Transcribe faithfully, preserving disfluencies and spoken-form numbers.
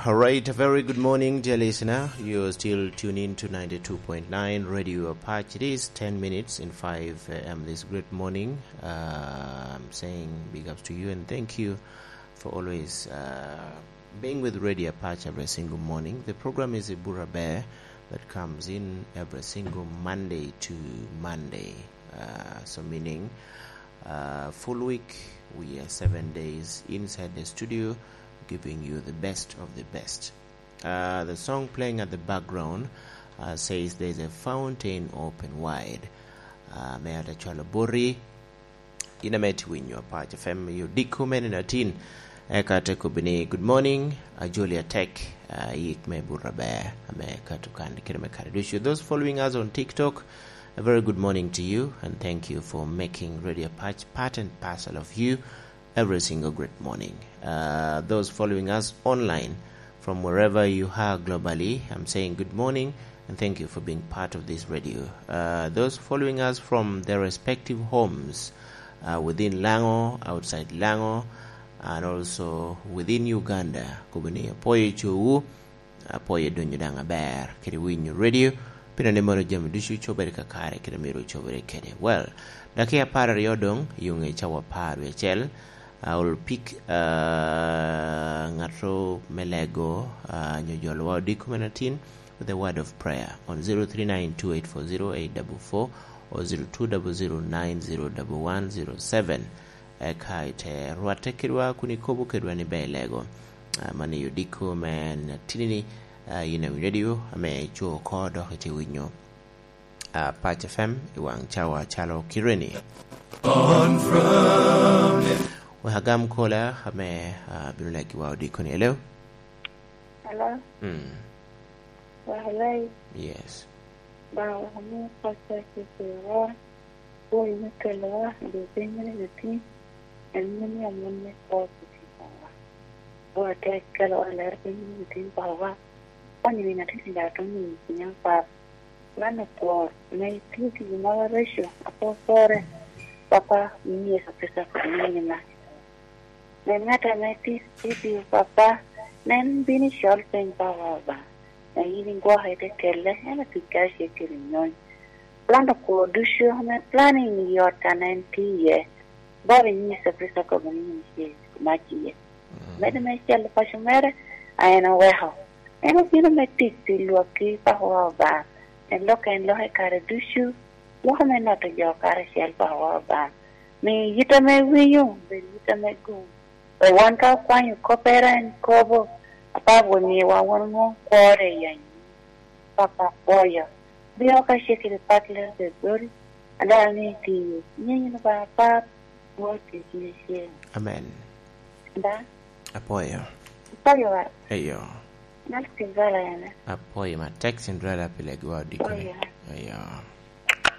All right, a very good morning, dear listener. You're still tuned in to ninety-two point nine Radio Apache. It is ten minutes in five a m this great morning. Uh, I'm saying big ups to you and thank you for always uh, being with Radio Apache every single morning. The program is Ibura Bear that comes in every single Monday to Monday. Uh, so meaning uh, full week, we are seven days inside the studio, giving you the best of the best. Uh, the song playing at the background uh, says there's a fountain open wide. Uh, me ata cwalo boti, in ame ti winyo Apache F M, yo dikko mene na tin. Eka te kobbi ni, "Good morning, ajoli atek, uh, yik me burra ber, ame ka tukan kite me kare ducu." Those following us on TikTok, a very good morning to you, and thank you for making Radio Apache part and parcel of you every single great morning. Uh, those following us online from wherever you are globally, I'm saying good morning and thank you for being part of this radio. Uh, those following us from their respective homes, uh, within Lango, outside Lango, and also within Uganda, kobbi ni apoyo cowu, apoyo donyo daŋ aber kede winyo radio, pien ni mono jami ducu cobere kakare kede myero ocobere kede. Well, dakiya apar aryo doŋ, yuŋe cawa apar wie acel, uh, will pick uh, ŋato me lego uh, nyo jolowa odiko me natin with a word of prayer on zero three nine two eight four zero eight double four or zero two double zero nine zero double one zero seven. Eka ite rwatte kedwa kun ikobo kedwa ni ber lego. Ah, man i odiko me natinini, ah, in awinyo radio ame co oko dok ite winyo. Ah, Pac F M i waŋ cawa calo kireni. Wek agam kola ame, ah, bino legiwa odiko ni. Hello? Hello? Mm. Wa, hello? Yes. Ba, wa, mi pasa ki kiro. Woi me kelowa, dwe piny mene me tin, en mene amon me kwo kuti kowa. Woi te kelowa lero piny mene me tin kowa. Kwani ni natin da to ni ni piny apar. Lano kwo, me titi moro recho, apo sore. Papa, ni Yesu Kristo kod ni na. Me ŋat ame titi, titi, Papa, nen bini col piny Papa Obaŋa. Me yin igwoke te kelle, en otic karacel kede nyony. Plan okwo ducu ame planning i ot ame en tye iye. Bot i Yecu Kricito kobo ni yin tye mac iye. Mm. Medo me celo paco mere, a en oweko. En obino me tic pi lwakki, Pakowa Obaŋa. En lok en lok i kare ducu, loko me noto jo karacel, Pakowa Obaŋa. Mi yit ame winyo, bed yit ame gum. Wek wan ka okwanyo koppere en kobo, Apap won miwa won ŋo kwore i anyim. Papa apwoyo. Bio ka cekere pat ler bed boti. Adal ni itiyo. Nyenyi ni ba apap. Wo tic ni cen. Amen. Da. Apwoyo. Apwoyo wa. Eyo. Nal Cinderella ene. Apwoyo ma tek Cinderella pile gwa odiko ni. Apwoyo. Eyo.